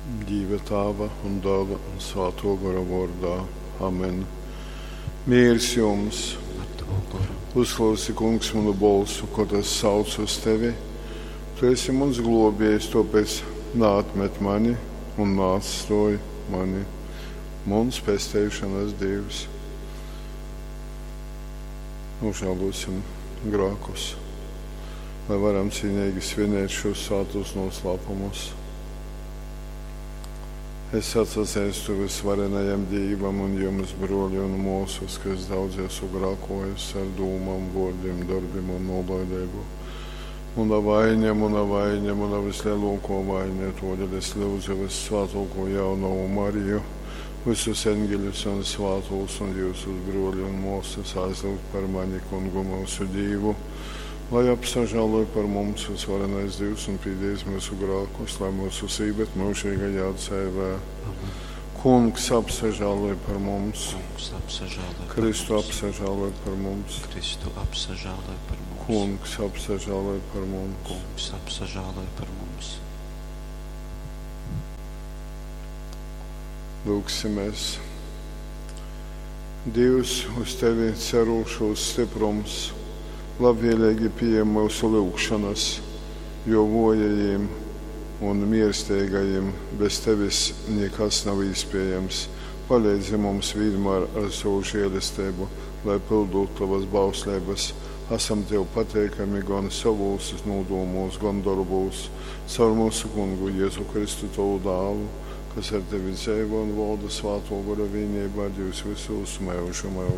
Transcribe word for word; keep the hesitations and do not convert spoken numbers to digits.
Dīva Tāva un Dāla un Svātō Gora vōrdā. Amen. Mīrs jums! Ar tavu goru. Uzklausi, Kungs, manu bolsu, kod es saucu uz tevi. Tu esi muns glōbējs, tōpēc naatmet mani un naatstōj mani, muns pesteišonas Dīvs. Nožēlosim grākus, lai varam cīnīgi svinēt šos svātos noslēpumus. Es atsazeistu visvarenajam Dīvam un jums, broļi un mūsas, ka es daudz esmu grākojis ar dūmām, vārdiem, darbiem un nolaidību. Muna vaina, muna vaina, muna vislielāko vaina, todēļ es lūdzu vissvētāko jaunavu Mariju, visus eņģeļus un svātos un jūsus broļi un mūsas aizlūgt par mani, kungu mūsu Dīvu, lai apsažāloj par mums visvarenais Dievs un pīdīs mūsu grākus, lai mūsu sībet mūžīgajā dzīvē. Amen. Kungs apsažāloj par mums, Kungs apsažāloj par Kristu mums. apsažāloj par mums, Kristu apsažāloj par mums. Kungs apsažāloj par mums. Kungs apsažāloj par mums. Lūgsimies. Dievs, uz tevi cerūšos stiprums, labvēlīgi pieņem mūsu lūgšanas, jo vojajiem un mierstīgajiem bez tevis nekas nav iespējams. Palīdzi mums vienmēr ar savu žēlastību, lai pildot tavas bauslības. Esam tev pateikami gan savos nodūmos, gan darbos, caur mūsu kungu Jēzu Kristu tavu dālu, kas ar tevi dzīvo un valda svāto gara vienībā, Dievs visos mūžu mūžos.